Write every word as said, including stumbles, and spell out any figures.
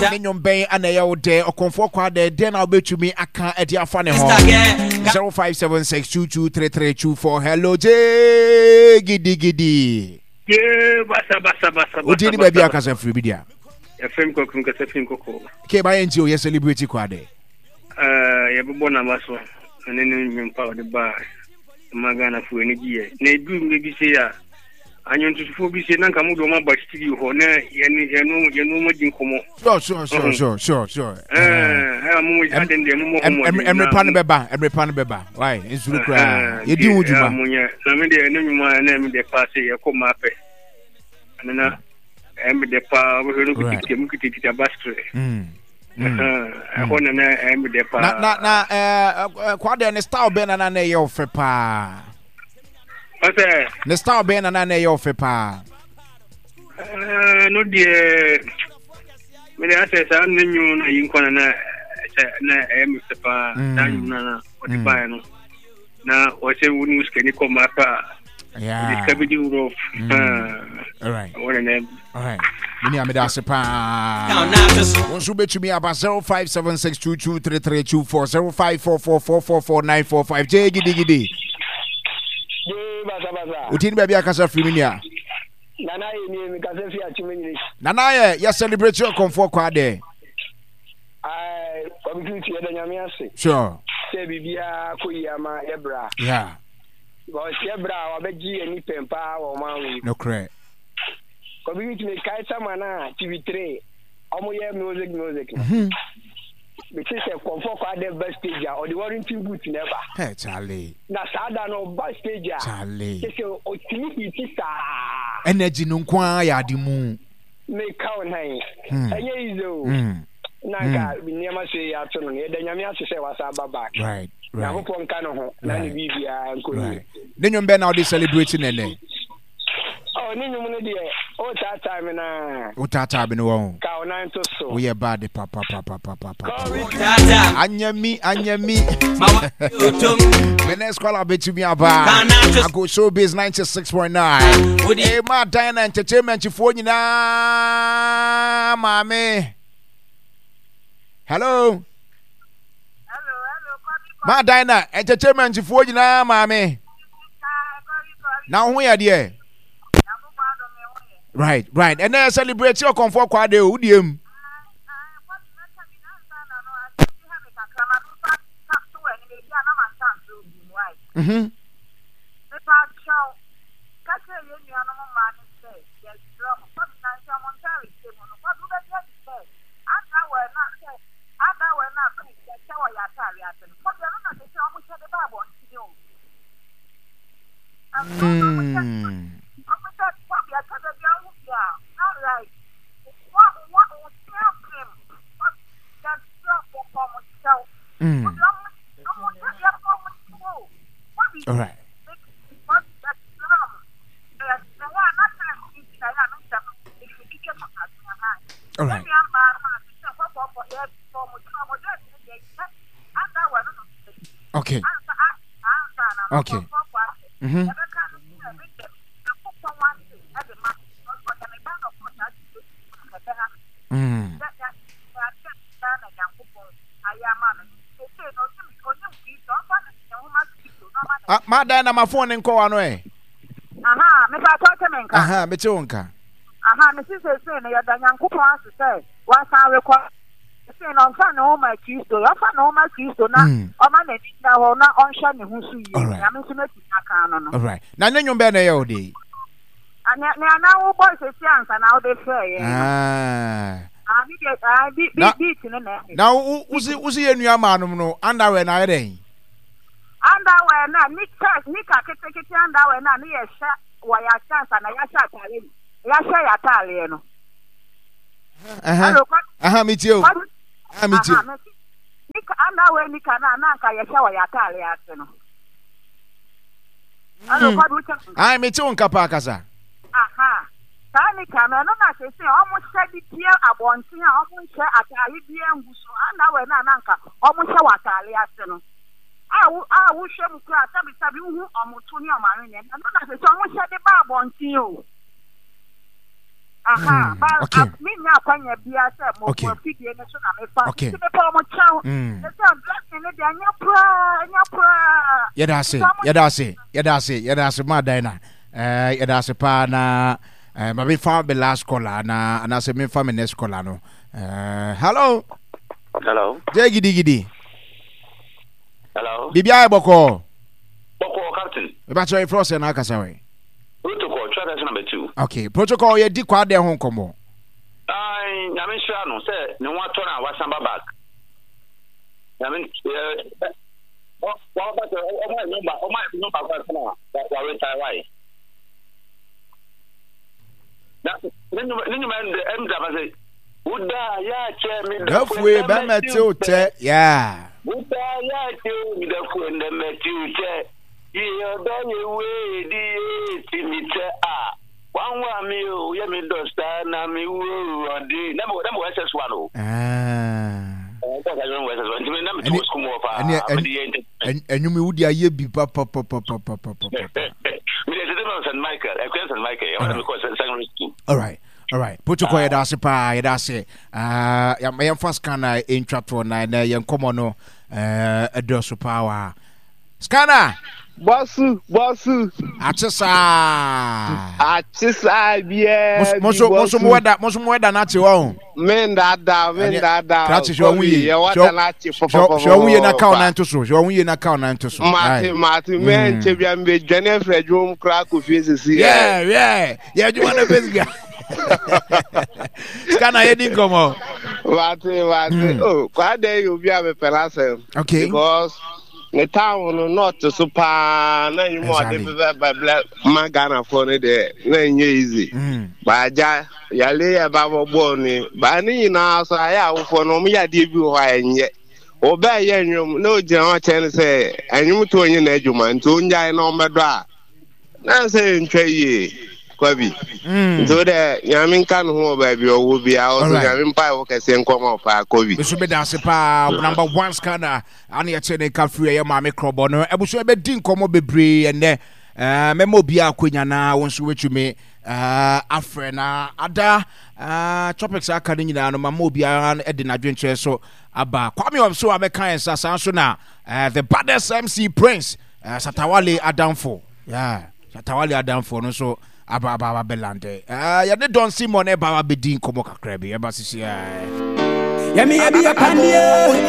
Ne nnwom bɛn ana ɛyɛ wo dɛ? Ɔkɔmfoɔ Kwaadɛ, dɛn na wobɛtumi aka de afa ne ho? zero five seven six two two three three two four. Hello, J gidi gidi. Ye basa basa basa. Odi ni baabi akasa firi bi dia. Yɛfrɛ me kasa firi nkɔkɔɔ. Ke ba yɛn ti o yɛ celebrate Kwaadɛ. Ɛɛ yɛbɛbɔ n'aba so ɛne ne nnwom pa ɔde baa ma Ghanafoɔ ani gyeeɛ. Na ɛduru mmerɛ bi sei a anwontotofoɔ bi sei na nka mode wɔn aba studio hɔ na yɛne yɛne yɛne wɔn adi nkɔmmɔ. Sure sure sure sure sure sure. Ɛɛ mo aden deɛ mo mmɔ ho mmɔden. Ɛmere pa no bɛba, ɛmere pa no bɛba. Why nsuru koraa yɛdi ho dwuma. Monyɛ na me deɛ ne nnwuma na ɛme deɛ paa sɛ yɛkɔ mmaa pɛ. Ɛno na ɛme deɛ paa wɔhwɛ no kitikiti mu kitikiti abasetrɛ. Ɛhɔ na na ɛme deɛ paa. Na na na ɛɛ Kwaadɛ ne style bɛn na na na ɛyɛ ɔfɛ paa? Ɔsɛ. Ne style bɛn na na na ɛyɛ ɔfɛ paa? Ɛɛ no deɛ mede asɛ saa ne nnwom no ayi nkwa na na sɛ na ɛyɛ me fɛ paa saa nnwom no na ɔde baeɛ no na ɔsɛ wo ne wo sikani kɔ mmaa pɛ a ɔde sika bɛdi worɔ. Alright. Alright. Mene a meda ase paa. Wo nso wobɛtumi aba zero five seven six two two three three two four zero five four four four four four nine four five. Gye gidigidi. Woti ne baabi akasa firi me nua. Nana yɛ nie, mekasa fi Akyem English. Nana yɛ, yɛ celebrate ɔkɔmfoɔ Kwaadɛ. Aye, Kwabi Tutu, yɛda Nyame ase. Sure. Sɛ biribiara kɔ yie ama yɛ bra. Yeah. Because yɛ bra a wabɛgye yɛn ni pɛn paa wɔ ɔman wei. Nokorɛ. Kwabi Tutu, mekae sama no a T V three, ɔmo yɛ music music no. Mm-hmm. Mete sɛ Kɔmfoɔ Kwaadɛ ba stage a, ɔde Warrington boot na ɛba. Hey, Charlie. Na saa da no ɔba stage a, Charlie. kyɛ sɛ ɔtumi hiti saa. Energy no nko ara yɛ ade mu. Meka wo nan. Hmm. Ɛnyɛ easy o. Hmm. Na nka nneɛma so yɛ ato no no, yɛda Nyame ase sɛ wasa aba back. Right. Right. Nyankopɔn nka ne ho na ne Right. biribiara nkɔ yie. Right. Ne nnwom bɛn na wode celebrate ne nnɛ? Oh, ne nnwom no deɛ, wotaataa me naa. Wotaataa me no wɔ ho. Ka wo nan to so. Woyɛ bad papapapapapa. Kɔbi Anyɛ mi, anyɛ mi. Me next caller bɛtumi aba. Ago Showbiz ninety-six point nine. Ema Diana Entertainment foɔ nyinaa maame. Hello. Hello, hello, Kobi. Ma Diana Entertainment foɔ nyinaa maame. Na wo ho yɛ deɛ? Right, right. Ɛnɛ celebrate ɔkɔmfoɔ Kwaadɛ o, wodie mu. Mhm. Mepa kyɛw, ka kyerɛ yɛn nuanom mmaa no sɛ yɛsrɛ mo, kɔbi na nhyɛ mo ntaare hyɛ mu no, kɔbi wobɛgye adi sɛ underwear no a sɛ underwear no a pink yɛhyɛ wɔ yɛn ataare ase no, kɔbi ɛno na sɛ sɛ ɔmo hyɛ de ba abɔnten o. Ɛno na ɔmo hyɛ Mm. ɔmo hyɛ kɔbi ɛtɔ da bi awo bi a na like wɔ wɔ wo ti apem, kɔbi yɛsrɛ wɔpɔ mo kyɛw. Mm. Kɔbi ɔmo ɔmo hyɛ yɛpɔ mo kyɛw o. Kɔbi. All right. All right. Okay. Okay. Mhm. Mm. Ah, ma Diana ma phone nkɔ wa no ɛ. Aha, mepa kyɛw, te me nka? Aha, mete wo nka. Aha, mesi seesei no yɛda Nyankopɔn ase sɛ wasan rekɔ. Seesei no ɔmfa ne ho ma Kristo, ɔmfa ne ho ma Kristo na Mm. ɔma n'ani nna hɔ na ɔnhwɛ ne ho so yie. Alright. Nyame nso n'atumi aka no no. All right. Na ne nnwom bɛn na ɛyɛ wo de yi? Ah, nea nea na wobɔ sɛsi ansa na wode frɛ yɛn no. Ah. Ah, ne deɛ, ah, bi bi Na beat no na ɛmɛ. na wo wo si wo si yɛ nua maanom no underwear na ayɛ dɛn? Underwear na ne church nika ketekete underwear na ne yɛhyɛ wɔ yɛ ase ansa na yɛahyɛ ataare yɛahyɛ yɛ ataareɛ no. Aha. Hello, kɔ Aha, metie o. kɔ Aha, metie. Aha, mesi nika underwear nika na na anka yɛhyɛ wɔ yɛ ataare ase no. Hello, Mm. kɔdu wokyɛ me nka? Ai, mete wo nka paa, kasa. Aha. Saa nika no, ɛno na sese ɔmo hyɛ de pie abɔnten a ɔmo nhyɛ ataare biara ngu so. Underwear na na anka ɔmo hyɛ wɔ ataare ase no. A wo a wohwɛ mu koraa, sɛbisɛbi, wohu ɔmo to ne ɔmo aweneɛ. Ɛno na sese ɔmo hyɛ de ba abɔnten o. Aha, ba okay. Menya akwanya bia sɛ mo Okay. mo afidie no so na mefa. Okay. Nti mepɛ ɔmo kyɛw. Mm. Sɛ dressing no deɛ ɛnyɛ koraa, ɛnyɛ koraa. Yɛda ase, Nti ɔmo yɛda ase, yɛda ase, yɛda ase, maa Diana. Eh, yɛda ase paa na eh, ma memfa me last caller na anaasɛ memfa me next caller no. Eh, hello. Hello. Jɛ gidigidi. Hello. Biribiara yɛ bɔkɔɔ. Bɔkɔɔ, Captain. Mebakyerɛ yɛfrɛ wo sɛ na akasa wɛ. Protocol, try that number two. Okay, protocol, yɛdi Kwaadɛ ho nkɔmmɔ. Ai, Nyame nhyira no sɛ ne ho atɔ no a wasan ba back. Nyame eh wa ba sɛ ɔma yɛ number, ɔma yɛ number kwa sana wa retire why. Na ne nyuma ne nyuma ɛm ɛm da ba sɛ woda ya kyɛ me dafue bɛmɛ tew tɛ, yeah. Woda ya kyɛ me dafue ndɛmɛ tew tɛ. Ye ɔdɔ ye we di ye ti mi tɛ a. Wanwa mi o ye mi dɔ sa na mi wo ɔdi. Na mo na mo S S one o. Ah. Ɛɛ ka ka mo S S one. Nti na mi to school mu pa. Ɛne Mi di ye nti. ɛnwom yi wodi ayɛ bi pa pa pa pa pa pa pa pa. Mi de tete ma Saint Michael. Ɛkwan Saint Michael. Ɛwɔ na mi kɔ secondary school. All right. All right. Protocol yɛda ase paa, yɛda ase. Ah, yɛmfa scanner ɛntwa toɔ na ɛnɛ yɛn nkɔmmɔ no eh, ɛdɔɔso paa wɔ ha. Scanner. Bosu, bosu. Akye saa. Akye saa bia. Mo so mo so mo wɛda, mo so mo wɛda n'akye wɔ ho. Me ndada, me ndada. Krakye hwɛ ɔho yie. Yɛ wɛda n'akye pɔpɔpɔpɔ. Hwɛ ɔho yie na kaw nan to so. Hwɛ ɔho yie na kaw nan to so. Mate, mate. Me nkyɛ bia me dwane afiri adwuma mu koraa kɔ fie sisi. Yeah, yeah. Yɛ adwuma no bɛsi ga. Scanner yɛ di nkɔmɔ. Mate, mate. Oh, Kwaadɛ yɛ obi a mepɛ n'asɛm. Okay. Because ne town no north so paa na nnwuma ɔde bɛbɛ bɛblɛ ma Ghanafoɔ no deɛ na ɛnyɛ easy. Baagya yale yɛ ba bɔbɔɔ ni baa ne nyinaa so ayɛ awofoɔ no ɔmo yɛ adeɛ bi wɔ hɔ a ɛnyɛ. Ɔbɛɛ yɛ nnwom na ogyina hɔ kyɛn sɛ nnwom to onye n'adwuma nti ongyae na ɔmmɛdɔ a na sɛ ntwa yie kwabi. Nti wo dɛ Nyame nka ne ho wɔ baabi ɔwɔ biara ɔso Nyame mpa ɛwɔ kɛseɛ nkɔma ɔpaa kwabi. Nso bɛda ase paa, number one scanner. Ane yɛkyɛ ne ka firi ɛyɛ maame krɔbɔ no abusua bɛdi nkɔmmɔ bebree ɛnɛ. Mɛma obiara akwanya na wo nso wobɛtumi afrɛ na ada topics aka no nyinaa no mama obiara de n'adwenkyerɛ so aba. Kwame Ɔbso a bɛka yɛn nsa saa nso na the baddest M C Prince Satawale Adamfo, yeah, Satawale Adamfo no nso aba aba aba bɛlande. Yɛne Don Simon ɛba aba bɛdi nkɔmmɔ kakra bi ɛba sisi. Yɛmi yɛbi yɛ pandie.